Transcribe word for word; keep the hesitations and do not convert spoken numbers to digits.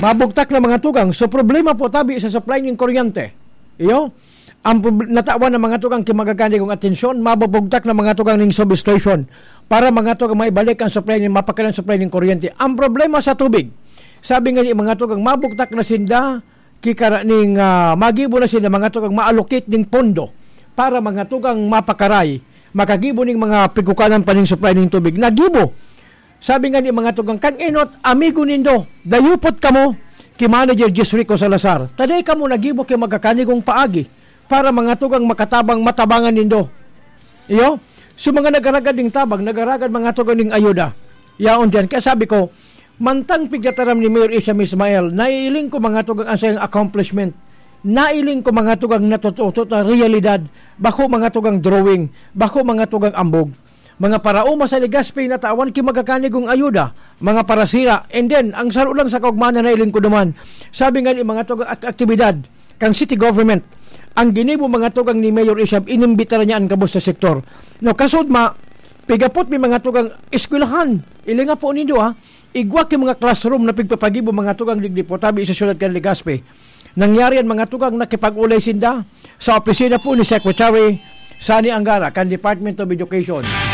Mabugtak na mga tugang. So, problema po tabi sa supply ning kuryente. Iyo? Ang prob-, natawan ng mga tugang ki magagani kong atensyon, mabubugtak na mga tugang ning substation para mga tugang maibalik ang supply ning, mapakanan supply ning kuryente. Ang problema sa tubig, sabi nga ni mga tugang, mabugtak na sinda, kikara ning, ah, magibo na sinda mga tugang ma-allocate ning pondo para mga tugang mapakaray, makagibo ning mga pigkukanan pa ning supply ning tubig. Nagibo. Sabi nga ni mga tugang, "Kan enot, amigo nindo, dayupot kamo ki Manager Jis Rico Salazar. Taday kamo nagibo ki magagani kong paagi para mga tugang makatabang matabangan nindo." Iyo? So, mga nagaragad ning tabang, nagaragad mga tugang ning ayuda. Yaon diyan. Kaya sabi ko, mantang pigtataram ni Mayor Isham Ismael, naiiling ko mga tugang ang sayang accomplishment. Nailing ko mga tugang natututo na realidad. Bako mga tugang drawing. Bako mga tugang ambog. Mga paraoma sa Legazpi natawan ki magagani kong ayuda, mga parasira, and then, ang saro lang sa kaugmahan na nailing ko duman. Sabi nga ni mga tugang ak-, aktibidad, kan city government, ang ginibo mga tugang ni Mayor Isham, inimbitaran niya ang gabos sa sektor. No, kasudma, pigapot mi mga tugang eskwelahan. Ilinga po nindo, ha? Igwa ki mga classroom na pigpapagibo mga tugang digdi po tabi sa siyudad kan Legazpi. Nangyari yan, mga tugang, nakipag-ulay sinda sa opisina po ni Secretary Sonny Angara kan Department of Education.